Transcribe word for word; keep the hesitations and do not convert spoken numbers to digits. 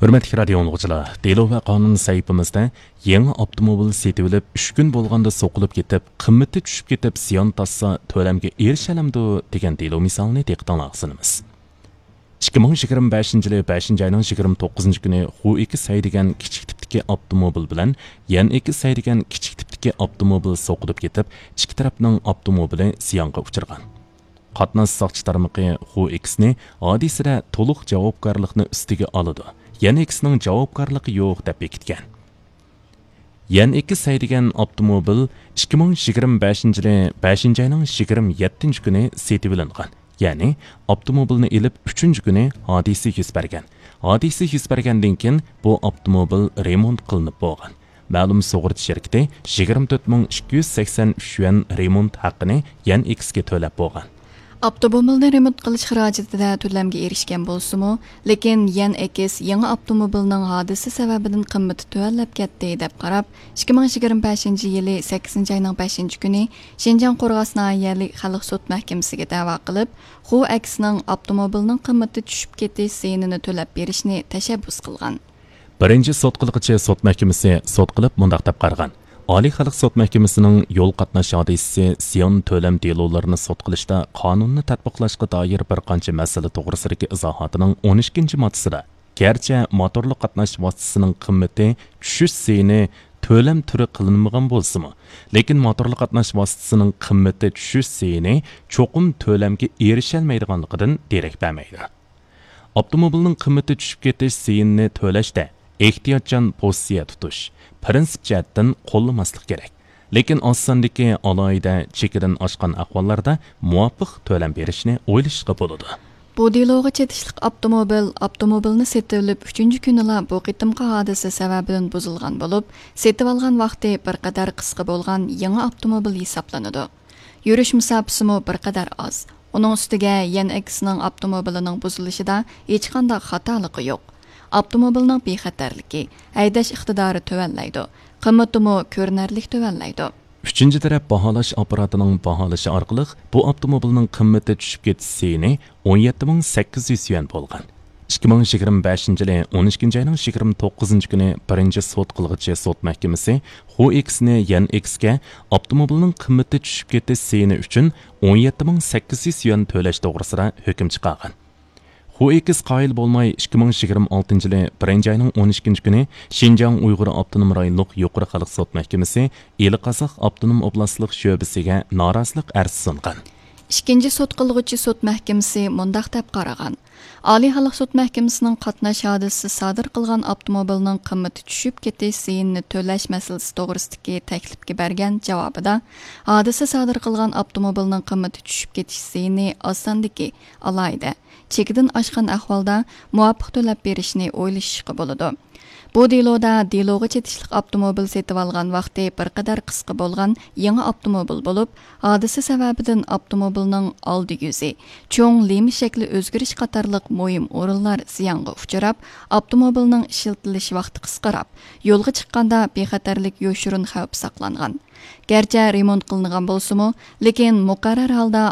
ھۆرمەتلىك رادىيو ئاڭلىغۇچىلار، دېلو ۋە قانۇن سەھىپىمىزدە يېڭى ئاپتوموبىل سېتىۋېلىپ، ئۈچ كۈن بولغاندا سوقۇلۇپ كېتىپ، قىممىتى چۈشۈپ كېتىپ، زىيان تارتسا، تۆلەمگە ئېرىشەلەمدۇ؟ دېگەن دېلو مىسالىنى دىققىتىڭلارغا سۇنىمىز. ئىككى مىڭ يىگىرمە بەشىنچى يىلى بەشىنچى ئاينىڭ يىگىرمە توققۇزىنچى كۈنى خۇ ئېكس ھەيدىگەن كىچىك تىپتىكى ئاپتوموبىل بىلەن يەن ئېكس ھەيدىگەن كىچىك تىپتىكى ئاپتوموبىل سوقۇلۇپ كېتىپ، ئىككى تەرەپنىڭ ئاپتوموبىلى زىيانغا ئۇچرىغان. قاتناش ساقچى تارمىقى خۇ ئېكسنى ھادىسىدە تولۇق جاۋابكارلىقنى ئۈستىگە ئالىدۇ، يەن ئېكسنىڭ جاۋابكارلىقى يوق دەپ بېكىتكەن. يەن ئېكس ھەيدىگەن ئاپتوموبىل ئىككى مىڭ يىگىرمە بەشىنچى يىلى بەشىنچى ئاينىڭ يىگىرمە يەتتىنچى كۈنى سېتىۋېلىنغان. يەنى ئاپتوموبىلنى ئېلىپ ئۈچىنچى كۈنى ھادىسە يۈز بەرگەن. ھادىسە يۈز بەرگەندىن كېيىن بۇ ئاپتوموبىل رېمونت قىلىنىپ بولغان. مەلۇم سۇغۇرتا شىركىتى يىگىرمە تۆت مىڭ ئىككى يۈز سەكسەن ئۈچ يۈەن رېمونت ھەققىنى يەن ئېكسكە تۆلەپ بولغان. ئاپتوموبىلنى رېمونت قىلىش خىراجىتىدە تۆلەمگە ئېرىشكەن بولسىمۇ، لېكىن يەن ئېكس يېڭى ئاپتوموبىلنىڭ ھادىسە سەۋەبىدىن قىممىتى تۆۋەنلەپ كەتتى دەپ قاراپ، ئىككى مىڭ يىگىرمە بەشىنچى يىلى سەككىزىنچى ئاينىڭ بەشىنچى كۈنى شىنجاڭ قورغاس ناھىيەلىك خەلق سوت مەھكىمىسىگە دەۋا قىلىپ، خۇ ئېكسنىڭ ئاپتوموبىلنىڭ قىممىتى چۈشۈپ كېتىش زىيىنىنى تۆلەپ بېرىشنى تەشەببۇس قىلغان. بىرىنچى سوت قىلغۇچى سوت مەھكىمىسى سوت قىلىپ مۇنداق دەپ قارىغان: ئالىي خەلق سوت مەھكىمىسىنىڭ يول قاتناش ھادىسىسى زىيان تۆلەم دېلولىرىنى سوت قىلىشتا قانۇننى تەتبىقلاشقا دائىر بىر قانچە مەسىلە توغرىسىدىكى ئىزاھاتىنىڭ ئون ئىككىنچى ماددىسىدا، گەرچە موتورلۇق قاتناش ۋاسىتىسىنىڭ قىممىتى چۈشۈش زىيىنى تۆلەم تۈرى قىلىنمىغان بولسىمۇ، لېكىن موتورلۇق قاتناش ۋاسىتىسىنىڭ قىممىتى چۈشۈش زىيىنى چوقۇم تۆلەمگە ئېرىشەلمەيدىغانلىقىدىن دېرەك بەرمەيدۇ. ئاپتوموبىلنىڭ قىممىتى چۈشۈپ كېتىش زىيىنىنى تۆلەشتە ئېھتىياتچان پوزىتسىيە تۇتۇش، پىرىنسىپ جەھەتتىن قوللىماسلىق كېرەك. لېكىن ئاز ساندىكى ئالاھىدە چېكىدىن ئاشقان ئەھۋاللاردا مۇۋاپىق تۆلەم بېرىشنى ئويلىشىشقا بولىدۇ. بۇ دېلوغا چېتىشلىق ئاپتوموبىل، ئاپتوموبىلنى سېتىۋېلىپ ئۈچىنچى كۈنىلا بۇ قېتىمقى ھادىسە سەۋەبىدىن بۇزۇلغان بولۇپ، سېتىۋالغان ۋاقتى بىر قەدەر قىسقا بولغان يېڭى ئاپتوموبىل ھېسابلىنىدۇ. يۈرۈش مۇساپىسىمۇ بىر قەدەر ئاز. ئۇنىڭ ئۈستىگە يەن ئېكسنىڭ ئاپتوموبىلىنىڭ بۇزۇلۇشىدا ھېچقانداق خاتالىقى يوق. ئاپتوموبىلنىڭ بىخەتەرلىكى، ھەيدەش ئىقتىدارى تۆۋەنلەيدۇ، قىممىتىمۇ كۆرۈنەرلىك تۆۋەنلەيدۇ. ئۈچىنچى تەرەپ باھالاش ئاپپاراتىنىڭ باھالىشى ئارقىلىق بۇ ئاپتوموبىلنىڭ قىممىتى چۈشۈپ كېتىش زىيىنى ئون يەتتە مىڭ سەككىز يۈز يۈەن بولغان. ئىككى مىڭ يىگىرمە بەشىنچى يىلى ئون ئىككىنچى ئاينىڭ يىگىرمە توققۇزىنچى كۈنى بىرىنچى سوت قىلغۇچى سوت مەھكىمىسى خۇ ئېكسنى يەن ئېكسكە ئاپتوموبىلنىڭ قىممىتى چۈشۈپ كېتىش زىيىنى ئۈچۈن ئون يەتتە مىڭ سەككىز يۈز يۈەن تۆلەش توغرىسىدا ھۆكۈم چىقارغان. خۇ ئېكس قايىل بولماي، ئىككى مىڭ يىگىرمە ئالتىنچى يىلى بىرىنچى ئاينىڭ ئون ئىككىنچى كۈنى شىنجاڭ ئۇيغۇر ئاپتونوم رايونلۇق يۇقىرى خەلق سوت مەھكىمىسى ئىلى قازاق ئاپتونوم ئوبلاستلىق شۆبىسىگە نارازىلىق ئەرزى سۇنغان. ئىككىنچى سوت قىلغۇچى سوت مەھكىمىسى مۇنداق دەپ قارىغان: ئالىي خەلق سوت مەھكىمىسىنىڭ قاتناش ھادىسىسى سادىر قىلغان ئاپتوموبىلنىڭ قىممىتى چۈشۈپ كېتىش زىيىنىنى تۆلەش مەسىلىسى توغرىسىدىكى تەكلىپكە بەرگەن جاۋابىدا، ھادىسە سادىر قىلغان ئاپتوموبىلنىڭ قىممىتى چۈشۈپ كېتىش زىيىنى ئاز ساندىكى ئالاھىدە، چېكىدىن ئاشقان ئەھۋالدا مۇۋاپىق تۆلەپ بېرىشنى ئويلىشىشقا بولىدۇ. بۇ دېلودا دېلوغا چېتىشلىق ئاپتوموبىل سېتىۋالغان ۋاقتى بىر قەدەر قىسقا بولغان يېڭى ئاپتوموبىل بولۇپ، ھادىسە سەۋەبىدىن ئاپتوموبىلنىڭ ئالدى يۈزى، چوڭ لېما شەكلى ئۆزگىرىش قاتارلىق مۇھىم ئورۇنلار زىيانغا ئۇچراپ، ئاپتوموبىلنىڭ ئىشلىتىلىش ۋاقتى قىسقىراپ، يولغا چىققاندا بىخەتەرلىك يوشۇرۇن خەۋپى ساقلانغان. گەرچە رېمونت قىلىنغان بولسىمۇ، لېكىن مۇقەررەر ھالدا